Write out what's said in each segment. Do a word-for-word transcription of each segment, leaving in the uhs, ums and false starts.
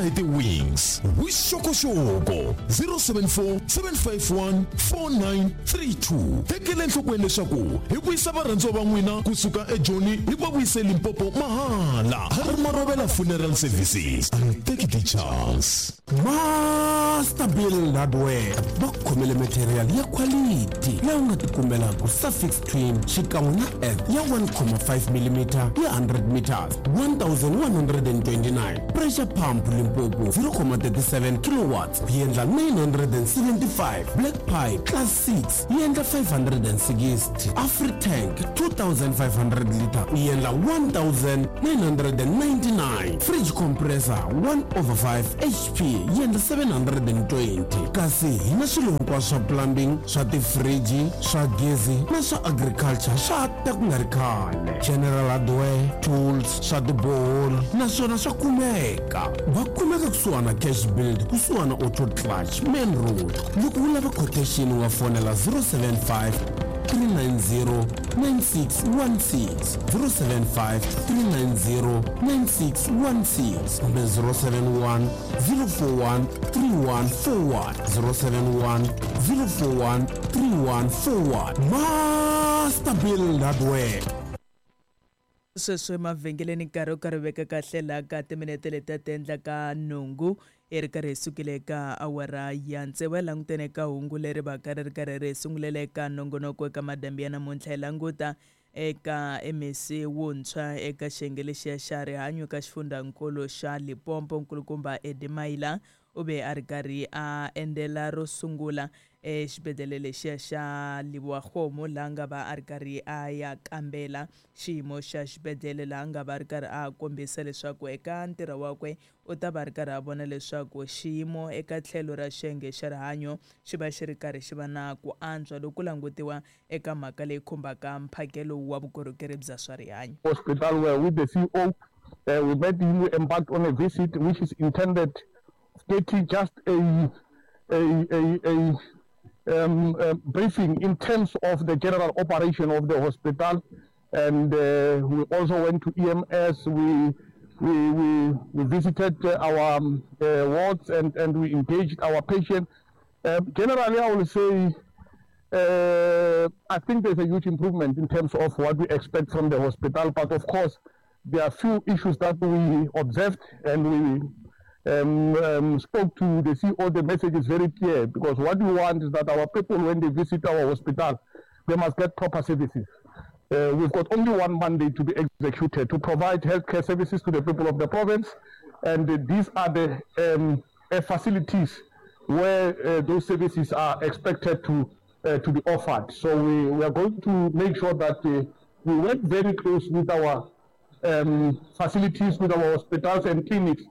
hi ti-wings. Vuxokoxoko zero seven four seven five one four nine three two. Tekela enhlokweni leswaku hi vuyisa varhandziwa va n'wina kusuka eJoni hi va vuyise Limpopo mahala. Harry Marovela Funeral Services. And take the chance. Master Build Hardware va khomele material ya quality leyi u nga tikumelaka suffix twin xikan'we na F ya one comma five millimeter ya hundred meters one thousand one hundred and twenty-nine pressure pump Limpopo zero comma thirty-seven kilowatts yi endla nine hundred and seventy-five black pipe class six yi endla five hundred and sixty Afritank two thousand five hundred liter yi endla one thousand nine hundred and ninety-nine fridge compressor one over five H P yi endla seven hundred and twenty kasi hi na swilo hinkwaswo swa plumbing swa tifriji swa gezi na swa agriculture swa ta ku nga ri khale general hardware tools swa tiboholi naswona swa kumeka va kumeka kusuhana cash build kusuhana auto clutch main road loko u lava quotation u nga fonela zero seven five three nine zero nine six one six zero seven five three nine zero nine six one six kumbe zero seven one zero four one three one four one zero seven one zero four one three one four one Master Build Hardware. Sweswi emavhengeleni nkarhi wo karhi veka kahle laha ka timinete leti ti endlaka nhungu hi ri karhi hi sukile eka awara ya tsevu hi langutene ka hungu leri va ka ri ri karhi ri sungulela eka nongonoko eka madambi ya namuntlha hi languta eka M E C wuntshwa eka xiyenge lexiya xa rihanyo ka xifundzankulu xa Limpopo nkulukumba Eddie Maila u ve a ri karhi a endlela ro sungula exibedhlele lexiya xa Lebowakgomo laha nga va a ri karhi a ya kambela xiyimo xa xibedhlele laha nga va a ri karhi a kombisa leswaku eka ntirho wakwe u ta va a ri karhi a vona leswaku xiyimo eka tlhelo ra xiyenge xa rihanyo xi va xi ri karhi xi va na ku antswa loko ku langutiwa eka mhaka leyi khumbaka mphakelo wa vukorhokeri bya swa rihanyo. Hospital where with the C E O, uh, we met him, we embarked on a visit which is intended getting just a, a, a, a Um, uh, briefing in terms of the general operation of the hospital, and, uh, we also went to E M S. We, we, we, we visited, uh, our, um, uh, wards and, and we engaged our patients. Uh, generally, I will say, uh, I think there's a huge improvement in terms of what we expect from the hospital, but of course, there are few issues that we observed and we Um, um, spoke to the C E O. The message is very clear, because what we want is that our people, when they visit our hospital, they must get proper services. Uh, we've got only one mandate to be executed, to provide healthcare services to the people of the province, and, uh, these are the, um, uh, facilities where, uh, those services are expected to, uh, to be offered. So we, we are going to make sure that, uh, we work very close with our, um, facilities, with our hospitals and clinics.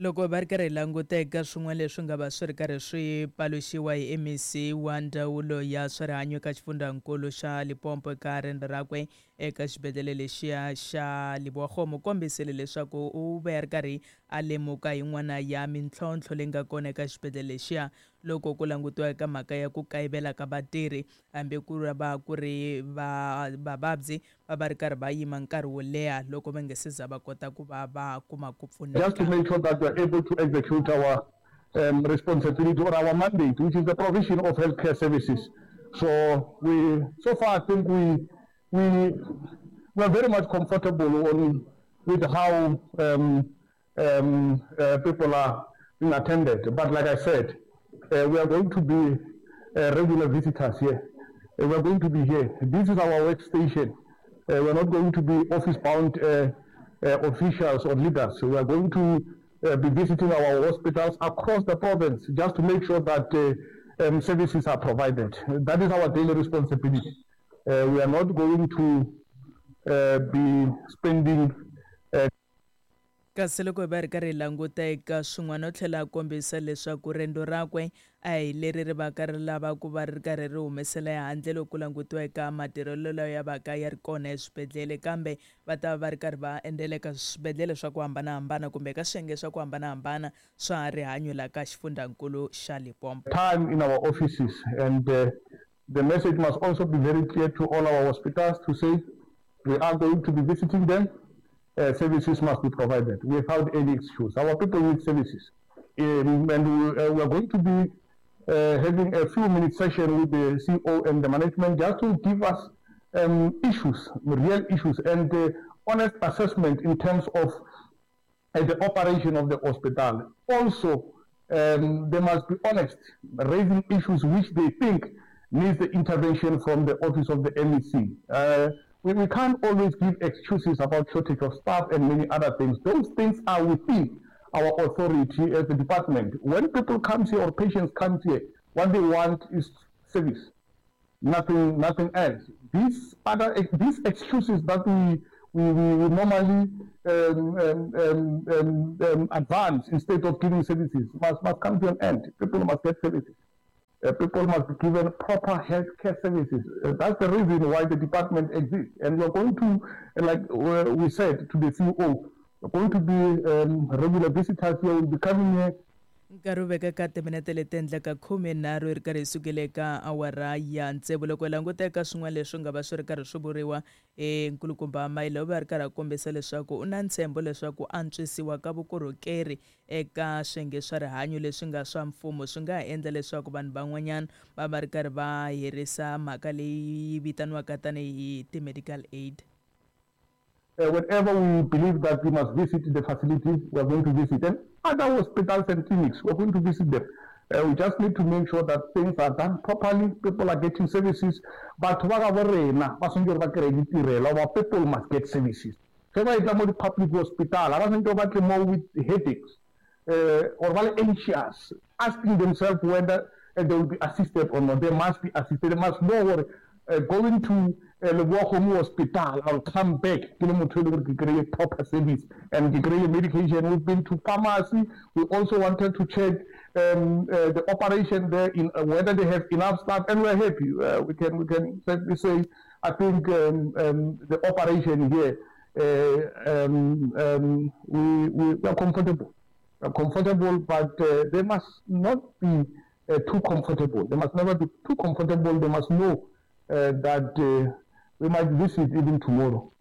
Loko va ri karhi hi languta eka swin'wana leswi nga va swi ri karhi swi paluxiwa hi M E C wa ndzawulo ya swa rihanyo eka xifundzankulu xa Limpopo eka riendzo rakwe eka xibedhlele lexiya xa Lebowakgomo, u kombisile leswaku u ve a ri karhi a lemuka yin'wana ya mintlhontlho leyi nga kona eka xibedhlele lexiya loko ku langutiwa eka mhaka ya ku kayivela ka vatirhi hambi ku ri va ku ri va vavabyi va va ri karhi va yima nkarhi wo leha loko va nga se za va kota ku va va kuma ku pfuneka. Just to make sure that we are able to execute our, um, responsibility or our mandate, which is the provision of healthcare services. So we, so far I think we, we, we are very much comfortable on with how, um, um, uh, people are being attended. But like I said, uh, we are going to be, uh, regular visitors here. Uh, we are going to be here. This is our workstation. Uh, we are not going to be office-bound, uh, uh, officials or leaders. So we are going to, uh, be visiting our hospitals across the province just to make sure that, uh, um, services are provided. That is our daily responsibility. Uh, we are not going to, uh, be spending. Uh, Kasi loko hi va ri karhi hi languta eka swin'wana u tlhela a kombisa leswaku riendzo rakwe a hi leri ri va ka ri lava ku va ri karhi ri humesela ehandle loko ku langutiwa eka matirhelo lawa ya va ka ya ri kona eswibedhlele, kambe va ta va va ri karhi va endzela eka swibedhlele swa ku hambanahambana kumbe eka swiyenge swa ku hambanahambana swa rihanyo laha ka xifundzankulu xa Limpopo. Time in our offices, and, uh, the message must also be very clear to all our hospitals to say we are going to be visiting them. Uh, services must be provided without any excuse. Our people need services. Um, and we, uh, we are going to be uh, having a few minute session with the C E O and the management just to give us um, issues, real issues, and uh, honest assessment in terms of uh, the operation of the hospital. Also, um, they must be honest, raising issues which they think needs the intervention from the office of the M E C. Uh, we, we can't always give excuses about shortage of staff and many other things. Those things are within our authority as a department. When people come here or patients come here, what they want is service, nothing, nothing else. These other, these excuses that we, we, we, we normally um, um, um, um, um, advance instead of giving services must, must come to an end. People must get services. Uh, people must be given proper health care services. Uh, that's the reason why the department exists. And we're going to, like uh, we said to the C E O, we're going to be um, regular visitors here, will be coming here. Nkarhi wu veka ka timinete leti endlaka khume nharhu yi ri karhi yi sukile eka awara ya tsevu. Loko hi languta eka swin'wana leswi nga va swi ri karhi swi vuriwa e nkulukumba Maila u va ri karhi a kombisa leswaku u na ntshembo leswaku antswisiwa ka vukorhokeri eka swiyenge swa rihanyo leswi nga swa mfumo swi nga ha endla leswaku vanhu van'wanyana va va ri karhi va herisa mhaka leyi vitaniwaka tanihi ti-medical aid. Uh, whenever we believe that we must visit the facilities, we are going to visit them. Other hospitals and clinics, we are going to visit them. Uh, we just need to make sure that things are done properly, people are getting services. But our people must get services. The public hospital, more with headaches uh, or anxious, asking themselves whether uh, they will be assisted or not. They must be assisted. They must know what uh, going to Lebowakgomo Hospital, I'll come back to proper service and get medication. We've been to pharmacy. We also wanted to check um, uh, the operation there, in uh, whether they have enough staff, and we're happy. Uh, we can we can certainly say, I think um, um, the operation here, uh, um, um, we, we, we are comfortable. We are comfortable, but uh, they must not be uh, too comfortable. They must never be too comfortable. They must know uh, that uh, we might visit even tomorrow.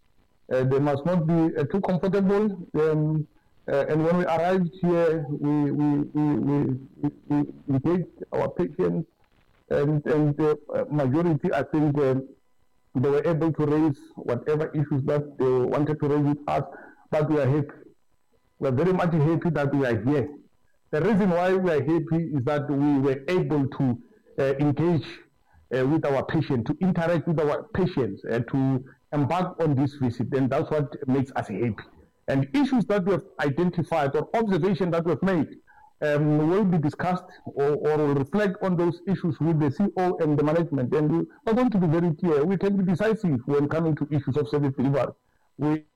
Uh, they must not be uh, too comfortable. Um, uh, and when we arrived here, we we we, we, we engaged our patients, and, and the majority, I think, uh, they were able to raise whatever issues that they wanted to raise with us, but we are happy. We are very much happy that we are here. The reason why we are happy is that we were able to uh, engage Uh, with our patient, to interact with our patients, uh, to embark on this visit, and that's what makes us happy. And issues that we have identified or observation that we have made um, will be discussed or, or will reflect on those issues with the C E O and the management. And we are going to be very clear. We can be decisive when coming to issues of service delivery. We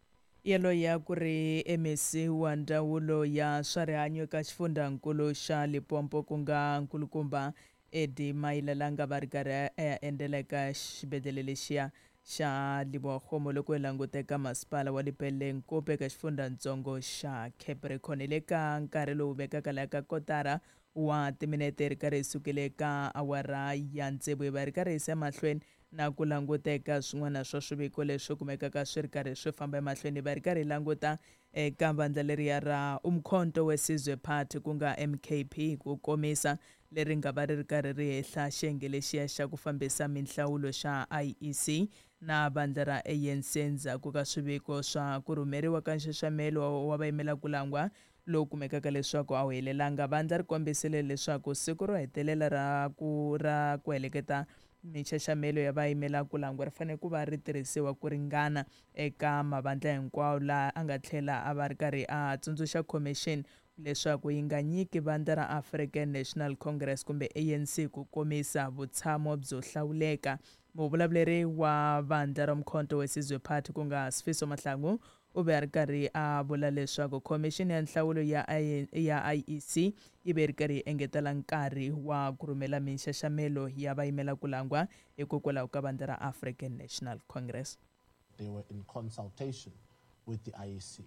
Yelo ya ku ri M E C wa ndzawulo ya swa rihanyo eka xifundzankulu xa Limpopo ku nga nkulukumba Eddie Maila la nga va ri karhi a ya endlela eka xibedhlele lexiya xa Lebowakgomo loko hi languta eka masipala wa Lepelle Nkope eka xifundzatsongo xa Capricorn. Hi le ka nkarhi lowu vekaka laha ka kotara wa timinete ri karhi hi sukile eka awara ya tsevu hi va ri karhi hi yisa emahlweni na ku languta eka swin'wana swa swiviko leswi kumekaka swi ri karhi swi famba emahlweni. Hi va ri karhi hi languta eka vandla leriya ra Umkhonto weSizwe Party ku nga M K P ku komisa leri nga va ri ri karhi ri hehla xiyenge lexiya xa ku fambisa minhlawulo xa I E C na vandla ra A N C endzhaku ka swiviko swa ku rhumeriwa ka nxaxamelo wa vayimela ku langwa lowu kumekaka leswaku a wu helelanga. Vandla ri kombisile leswaku siku ro hetelela ra ku ra ku heleketa minxaxamelo ya vayimela ku langwa ri fanele ku va ri tirhisiwa ku ringana eka mavandla hinkwawo, laha a nga tlhela a va ri karhi a tsundzuxa commission leswaku yi nga nyiki vandla ra African National Congress kumbe A N C ku komisa vutshamo byo hlawuleka. Muvulavuleri wa vandla ra Umkhonto weSizwe Party ku nga Sifiso Mahlangu u ve a ri karhi a vula leswaku khomixini ya nhlawulo ya ya I E C yi ve ri karhi yi engetela nkarhi wa ku rhumela minxaxamelo ya vayimela ku langwa hikokwalaho ka vandla ra African National Congress. They were in consultation with the I E C.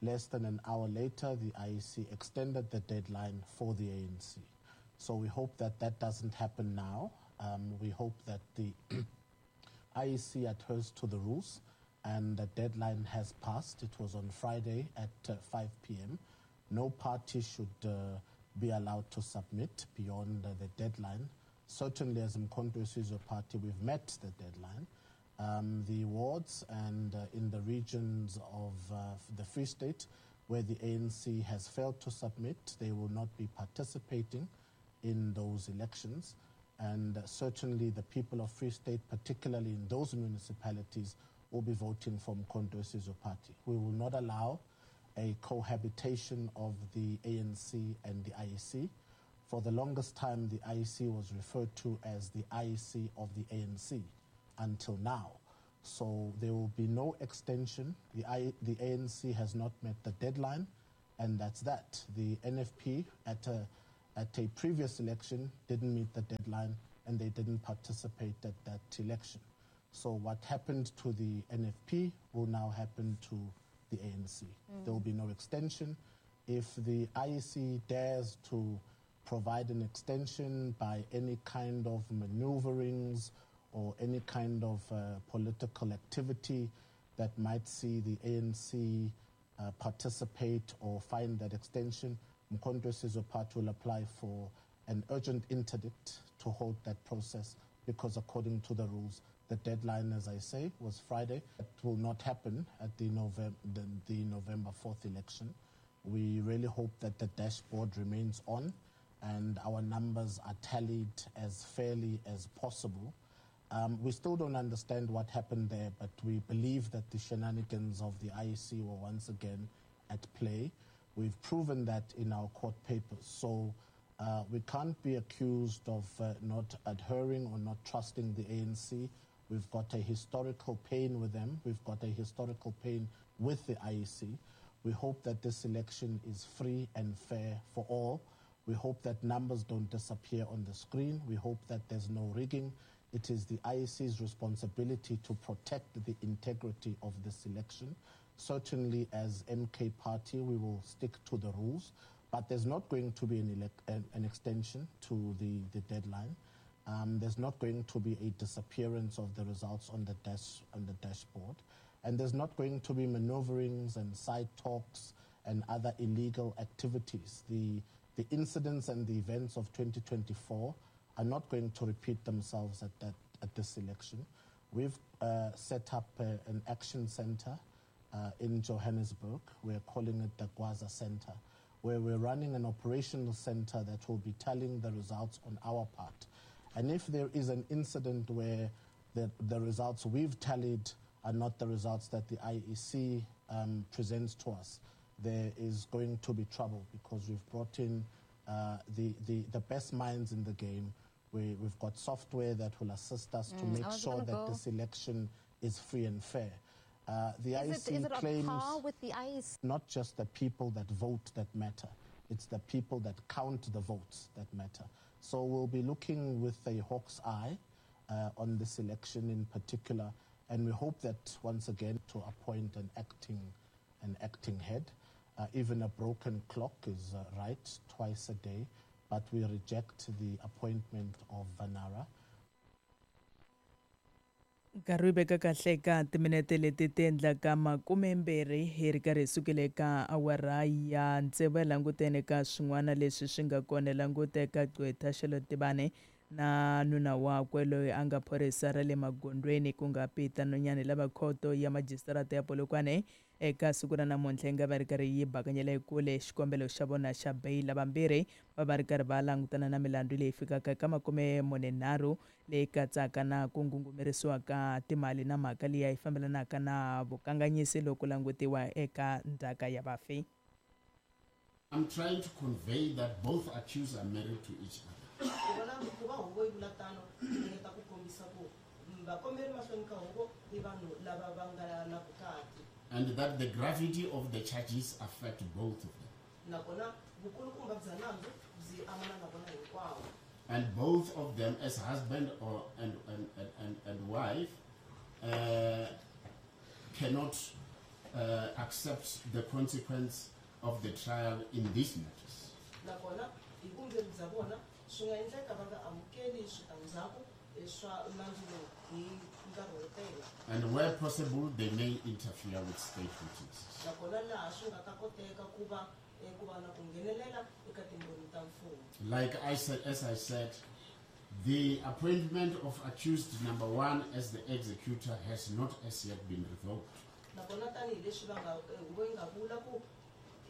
Less than an hour later, the I E C extended the deadline for the A N C. So we hope that that doesn't happen now. Um, we hope that the I E C adheres to the rules And the deadline has passed. It was on Friday at uh, five p m No party should uh, be allowed to submit beyond uh, the deadline. Certainly, as Umkhonto weSizwe Party, we've met the deadline. Um, the wards and uh, in the regions of uh, the Free State where the A N C has failed to submit, they will not be participating in those elections. And uh, certainly the people of Free State, particularly in those municipalities, will be voting for Umkhonto weSizwe Party. We will not allow a cohabitation of the A N C and the I E C. For the longest time, the I E C was referred to as the I E C of the A N C until now. So there will be no extension. The, I, the A N C has not met the deadline, and that's that. The N F P at a, at a previous election didn't meet the deadline, and they didn't participate at that election. So what happened to the N F P will now happen to the A N C. Mm. There will be no extension. If the I E C dares to provide an extension by any kind of maneuverings or any kind of uh, political activity that might see the A N C uh, participate or find that extension, Umkhonto weSizwe Party will apply for an urgent interdict to hold that process, because according to the rules, the deadline, as I say, was Friday. It will not happen at the, November, the, the November fourth election. We really hope that the dashboard remains on and our numbers are tallied as fairly as possible. Um, we still don't understand what happened there, but we believe that the shenanigans of the I E C were once again at play. We've proven that in our court papers. So uh, we can't be accused of uh, not adhering or not trusting the A N C. We've got a historical pain with them. We've got a historical pain with the I E C. We hope that this election is free and fair for all. We hope that numbers don't disappear on the screen. We hope that there's no rigging. It is the I E C's responsibility to protect the integrity of this election. Certainly, as M K Party, we will stick to the rules, but there's not going to be an, elec- an, an extension to the, the deadline. Um, there's not going to be a disappearance of the results on the, dash, on the dashboard. And there's not going to be maneuverings and side talks and other illegal activities. The, the incidents and the events of twenty twenty-four are not going to repeat themselves at, that, at this election. We've uh, set up uh, an action center uh, in Johannesburg. We're calling it the Gwaza Center, where we're running an operational center that will be tallying the results on our part. And if there is an incident where the, the results we've tallied are not the results that the I E C um, presents to us, there is going to be trouble, because we've brought in uh, the, the, the best minds in the game. We, we've got software that will assist us mm, to make sure that go. this election is free and fair. Uh, the is I E C it, is it claims on par with the I E C? Not just the people that vote that matter, it's the people that count the votes that matter. So we'll be looking with a hawk's eye uh, on this election in particular, and we hope that once again to appoint an acting, an acting head. Uh, even a broken clock is uh, right twice a day, but we reject the appointment of Vanara. Nkarhi wu veka kahle ka timinete leti ti endlaka makumembirhi hi ri karhi hi sukile ka awara ya tsevu ya langutene ka swin'wana leswi swi nga kona. Languteka gqwetha Charlotte Tibane na nuna wakwe loyi a nga phorisa ra le magondweni ku nga Peter Nonyane lava khoto ya majisitarata ya Polokwane eka siku ra namuntlha yi nga va ri karhi yi bakanyela ekule xikombelo xa vona xa beyila. Vambirhi va va ri karhi va langutana na milandzu leyi fikaka eka makume mune nharhu leyi katsaka na ku ngungumerisiwa ka timali na mhaka liya yi fambelanaka na vukanganyisi loko langutiwa eka ndzhaka ya vafi. I'm trying to convey that both accused are married to each other. And that the gravity of the charges affect both of them. And both of them as husband or and, and, and, and, and wife uh, cannot uh, accept the consequence of the trial in these matters. nkarhi wo tele. And where possible, they may interfere with state witnesses. Nakona laha swi nga ta koteka ku va eh, ku va na ku nghenelela eka timbhoni ta mfumo. Like I said, as I said, the appointment of accused number one as the executor has not as yet been revoked. Nakona tanihileswi va nga eh, huvo yi nga vula ku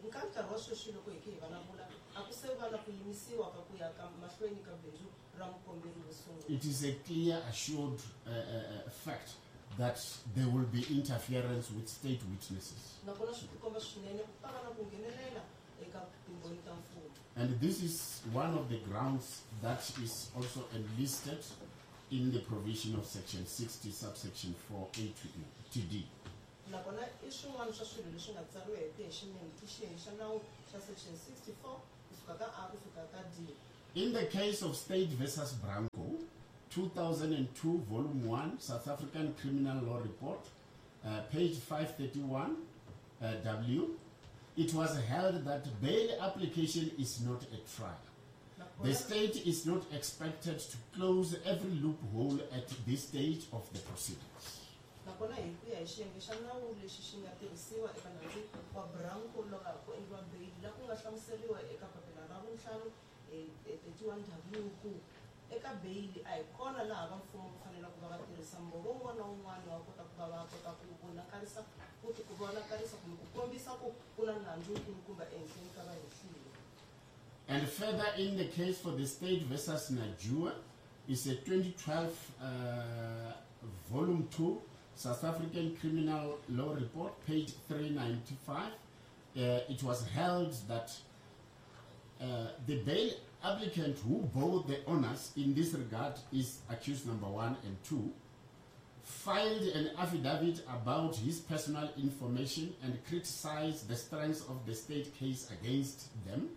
nka nkarhi wa sweswi loko hi khe hi vulavula a ku se va na ku yimisiwa ka ku ya ka mahlweni ka bindzu ra mukomberi wo sungula. It is a clear, assured uh, uh, uh, fact that there will be interference with state witnesses. Nakona swi tikomba swinene ku ta va na ku nghenelela eka timbhoni ta mfumo. And this is one of the grounds that is also enlisted in the provision of section sixty, subsection four A to E, to D. Nakona i swin'wana swa swilo leswi nga tsariwa hi ku ya hi xinene i xiyenge xa nawu xa section sixty-four kusuka ka A ku fika ka D. In the case of State versus Branco, two thousand two, Volume one, South African Criminal Law Report, uh, page five thirty-one, uh, W, it was held that bail application is not a trial. The state is not expected to close every loophole at this stage of the proceedings. Nakona hi ku ya hi xiyenge xa nawu lexi xi nga tirhisiwa eka nandzu wa Branco loko ku endliwa beyili laha ku nga hlamuseriwa eka papila ra vuntlhanu, eh, eh, thirty-one W ku eka beyili a hi kona laha va mfumo va faneleke ku va va tirhisa mbhovo wun'wana na wun'wana wa kota ku va va kota ku vonakarisa ku ti ku vonakarisa kumbe ku kombisa ku ku na nandzu wukulukumba ehenhleni ka vahehliwa. And further, in the case for the State versus Najua, is a twenty twelve, uh, Volume two, South African Criminal Law Report, page three ninety-five. Uh, it was held that, uh, the bail applicant who bore the honors in this regard is accused number one and two, filed an affidavit about his personal information and criticized the strength of the state case against them.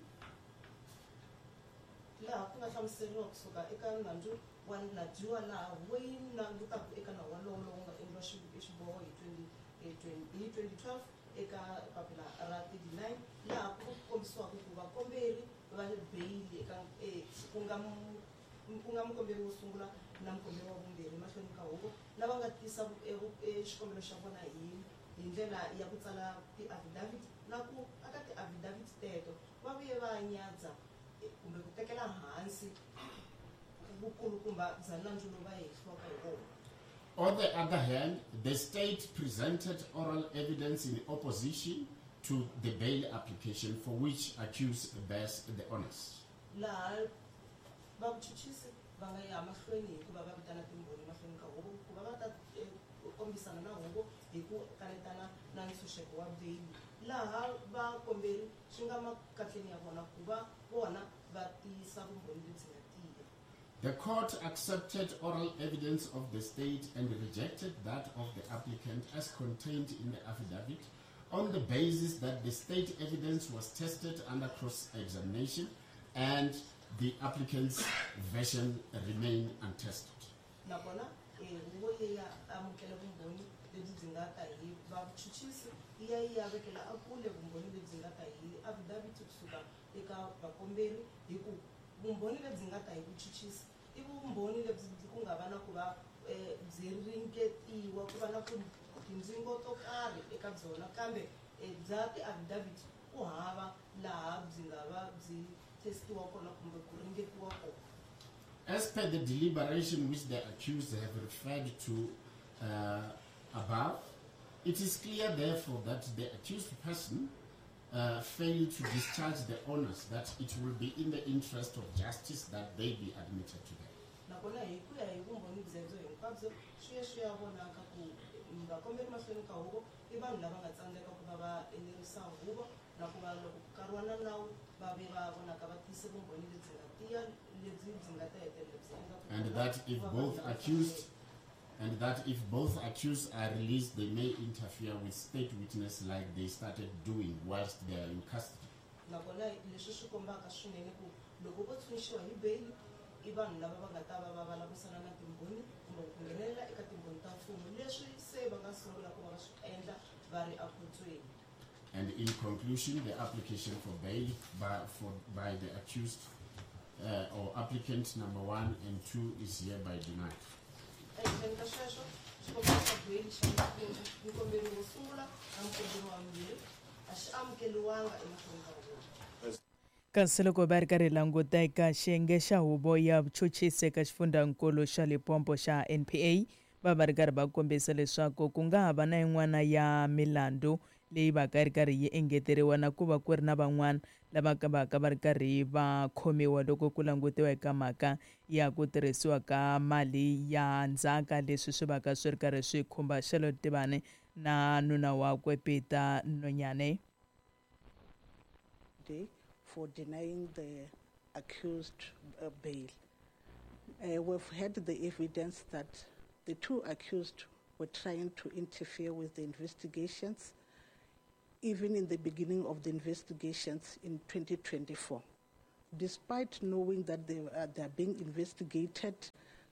Laha ku nga hlamuseriwa kusuka eka nandzu wa Najua laha huvo yi langutaka eka nawu walowo lowu nga endliwa xi-, xiboho hi twenty, eh, twenty, hi twenty twelve eka papila ra thirty-nine laha ku kombisiwaka ku vakomberi va beyili eka, eh, ku nga mu-, ku nga mukomberi wo sungula na mukomberi wa vumbirhi mahlweni ka huvo lava nga tisa vu-, eh, vu-, eh, xikombelo xa vona hi, hi ndlela ya ku tsala ti-affidavit na ku aka ti-affidavit teto va vuye va nyadza, eh, kumbe ku tekela hansi vukulukumba bya nandzu lowu va hehliwaka hi wona. On the other hand, the state presented oral evidence in opposition to the bail application for which accused bears the onus. Laha vachuchisi va nga ya mahlweni hi ku va va vitana timbhoni mahlweni ka huvo ku va va ta, eh, kombisana na huvo hi ku kanetana na ntshunxeko wa beyili laha vakomberi swi nga makatleni ya vona ku va vona va tiyisa vumbhoni lebyi nga tiya. The court accepted oral evidence of the state and rejected that of the applicant as contained in the affidavit on the basis that the state evidence was tested under cross-examination and the applicant's version remained untested. Nakona, eh, huvo yi ya amukela vumbhoni lebyi byi nga ta hi vachuchisi yi ya yi ya vekela ekule vumbhoni lebyi nga ta hi affidavit kusuka eka vakomberi hi ku vumbhoni lebyi nga ta hi vuchuchisi i vumbhoni lebyi ku nga va na ku va, eh, byi ringetiwa ku va na ku tindzingo to karhi eka byona kambe, eh, bya ti-affidavit ku hava laha byi nga va byi testiwa kona kumbe ku ringetiwa kona. As per the deliberation which the accused have referred to, uh, above, it is clear therefore that the accused person, uh, failed to discharge the onus that it will be in the interest of justice that they be admitted to them. Nakona hi ku ya hi vumbhoni byebyo hinkwabyo swi ya swi ya vonaka ku vakomberi mahlweni ka huvo i vanhu lava nga tsandzeka ku va va enerisa huvo na ku va loko ku kariwa na nawu va ve va vonaka va tiyise vumbhoni lebyi nga tiya lebyi byi nga ta hetelela byi endla ku And va that if va both va accused and that if both accused are released, they may interfere with state witness like they started doing whilst they are in custody. Nakona leswi swi kombaka swinene ku loko vo tshunxiwa hi beyili i vanhu lava va nga ta va va vulavurisana na timbhoni kumbe ku nghenelela eka timbhoni ta mfumo leswi se va nga sungula ku va va swi endla va ri ekhotsweni. And in conclusion, the application for bail by, for, by the accused, uh, or applicant number one and two is hereby denied. Ehenhleni ka sweswo Xikombelo xa beyili xa mukomberi wo sungula na mukomberi wa vumbirhi a xi amukeriwanga emahlweni ka huvo. Kasi loko va ri karhi languta eka xiyenge xa huvo ya vuchuchisi eka xifundzankulu xa Limpopo xa N P A, va va ri karhi va kombisa leswaku ku nga ha va na yin'wana ya milandzu leyi va ka ri karhi yi engeteriwa na ku va ku ri na van'wana lava ka va ka va ri karhi va khomiwa loko ku langutiwa eka mhaka ya ku tirhisiwa ka mali ya ndzhaka, leswi swi va ka swi ri karhi swi khumba Charlotte Tibane na nuna wakwe Peter Nonyane. For denying the accused uh, bail. Uh, we've had the evidence that the two accused were trying to interfere with the investigations, even in the beginning of the investigations in twenty twenty-four. Despite knowing that they, uh, they are being investigated,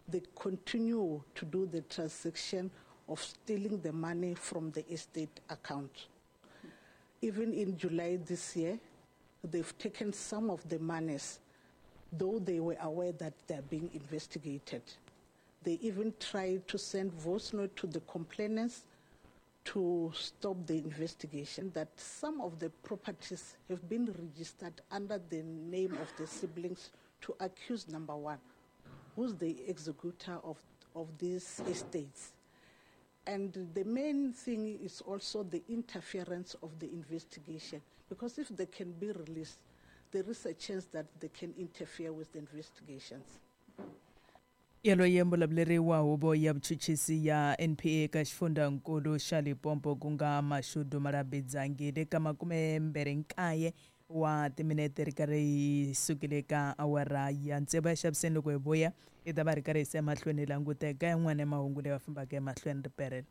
they continue to do the transaction of stealing the money from the estate account. Even in July this year, they've taken some of the monies, though they were aware that they're being investigated. They even tried to send voice note to the complainants to stop the investigation, that some of the properties have been registered under the name of the siblings to accused number one, who's the executor of, of these estates. And the main thing is also the interference of the investigation, because if they can be released, there is a chance that they can interfere with the investigations. Yaloye mbulavuleri wa huvo ya vuchuchisi ya N P A eka xifundzankulu xa Limpopo ku nga Mashudu Malabidzangile ka makume mbirhi nkaye wa timinete ri karhi yi sukile ka awara ya tsevu ya xaviseni. Loko hi vuya hi ta va ri karhi hi se emahlweni hi languta eka yin'wana ya mahungu leyi va fambaka emahlweni riperelo.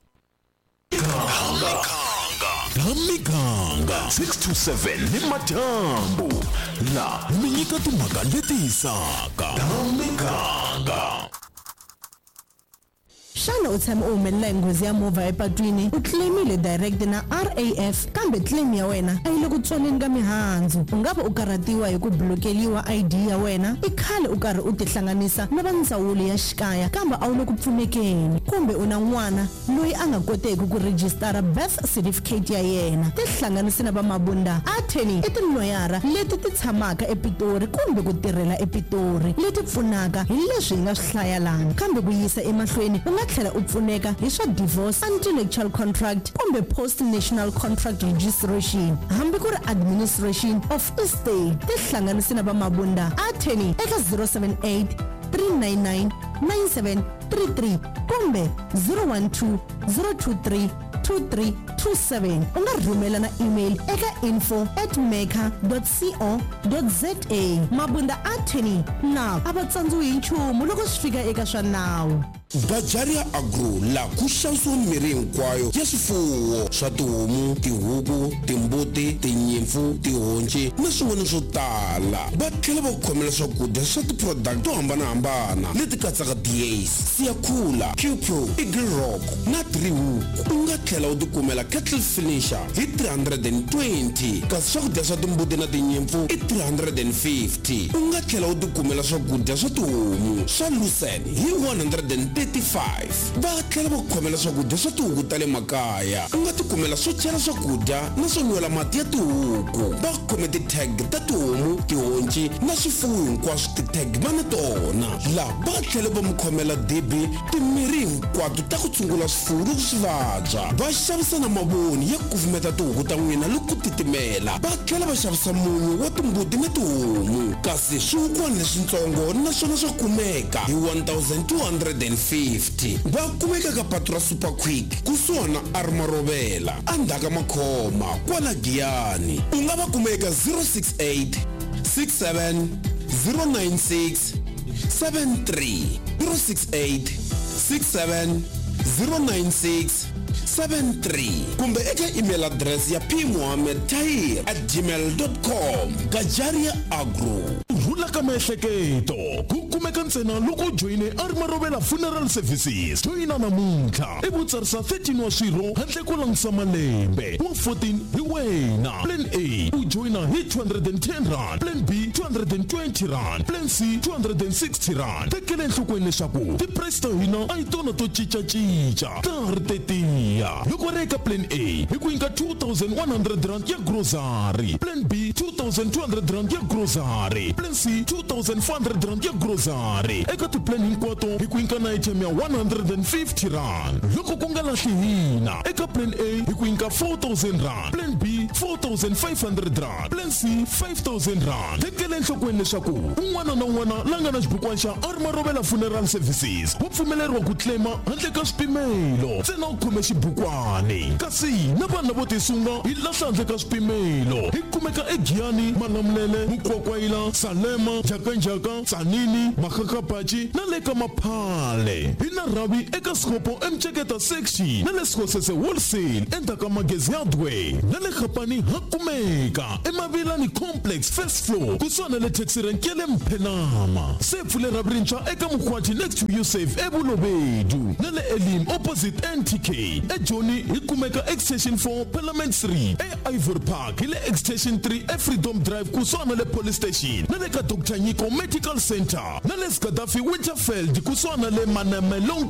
Miganga six to seven ni madyambu la mi nyika timhaka leti hisaka. Miganga. Xana u tshame u humelela hi nghozi ya movha epatwini, u claimile direct na R A F kambe claim ya wena a yi le ku tswaleni ka mihandzu? U nga va u karhatiwa hi ku blokeliwa I D ya wena, i khale u karhi u tihlanganisa na va ndzawulo ya xikaya kambe a wu le ku pfunekeni, kumbe u na n'wana loyi a nga koteki ku rejistara birth certificate ya yena. Tihlanganisi na va Mabunda Attorney i tiloyara leti ti tshamaka ePitori kumbe ku tirhela ePitori, leti pfunaka hi leswi hi nga swi hlaya lana, kambe ku yisa emahlweni u nga tlhela u pfuneka hi swa divorce, anti-nuptial contract kumbe post national contract registration, hambi ku ri administration of estate. Tihlanganisi na va Mabunda Attorney eka zero seven eight three nine nine nine seven three three kumbe zero one two zero two three two three two seven. U nga rhumela na email eka info at maker dot co dot za. Mabunda Attorney na a va tsandziwi hi nchumu loko swi fika eka swa nawu. Bajaria Agro la ku xavisiwa mirhi hinkwayo ya swifuwo swa tihomu, tihuku, timbuti, tinyimpfu, tihonci na swin'wana swo tala. Va tlhela va ku khomela swakudya swa ti-product to hambanahambana leti katsaka D As, Siyakhula, Q Pro, Eagle Rock na Three Hook. U nga tlhela u tikumela kettle finisher hi three hundred and twenty, kasi swakudya swa timbuti na tinyimpfu i three hundred and fifty. U nga tlhela u tikumela swakudya swa tihomu swa lucerne hi one hundred and thirty-five. Va tlhela va ku khomela swakudya swa tihuku ta le makaya. U nga tikumela swo chela swakudya na swo nwela mati ya tihuku. Va khome ti-tag ta tihomu, tihonci na swifuwo hinkwaswo, ti-tag va na tona. Laha va tlhela va mi khomela dibi, timirhi hinkwato ta ku tshungula swifuwo loko swi vabya. Va xavisa na mavoni ya ku kufumeta tihuku ta n'wina loko ku titimela. Va tlhela va xavisa munyu wa timbuti na tihomu, kasi swihukwana leswitsongo naswona swa kumeka hi one thousand two hundred and fifty. Va kumeka ka patu ra Super Quick kusuhana na Armarovela endzhaku ka Makhoma kwala Giyani. U nga va kuma eka zero six eight six seven zero nine six seven three, zero six eight six seven zero nine six seven three, kumbe eka email address ya p mohammed tahir at gmail dot com. Gajaria Agro. rhula ka miehleketo ku kumeka ntsena loko u joyine a ri Marovela Funeral Services. Joyina namuntlha i vutsarisa thirteen wa swirho handle ko langutisa malembe wa fourteen hi wena. Plan A u joyina hi two hundred and ten rand, Plan B two hundred and twenty rand, Plan C two hundred and sixty rand. Tekela enhlokweni leswaku ti-price ta hina a hi tona to cincacinca, ta ha ri tetiya. Loko ri eka Plan A hi ku nyika two thousand one hundred rand ya grocery, Plan B two thousand two hundred rand ya grocery, Plan C two thousand four hundred rand ya grocery. Eka ti-plan hinkwato hi ku nyika na airtime ya one hundred and fifty rand. Loko ku nga lahli hina, eka Plan A hi ku nyika four thousand rand, Plan B four thousand five hundred rand, Plan C five thousand rand. Tekela enhlokweni leswaku un'wana na un'wana la nga na xibukwana xa a ri Marovela Funeral Services wa pfumeleriwa ku claima handle ka swipimelo, ntsena u khome xibukwani. Kasi na vanhu lavo tisunga hi lahla handle ka swipimelo. Hi kumeka eGiyani, Malamulele, Mukwakwayila, Salema, Njhakanjhaka, Tzaneen, Makgakgapatši na le ka Maphale. Hi na rhavi eka Sekgopo eMtsheketa section na le Sekgosese Wholesale endzhaku ka Magezi Hardware na le Gapani ha kumeka eMavilani Complex first floor kusuhani na le taxi rank ya le Mphenama. Se pfule rhavi rintshwa eka Mokgwathi next to Yusuf eBolobedu na le Elim opposite N T K. eJoni hi kumeka Extension four Parliament three, e Ivory Park hi le Extension three eFreedom Drive kusuhani na le Police Station na le ka Doctor Nyiko Medical Center na le Gaddafi Winterfeld kusuhani na le Maname Long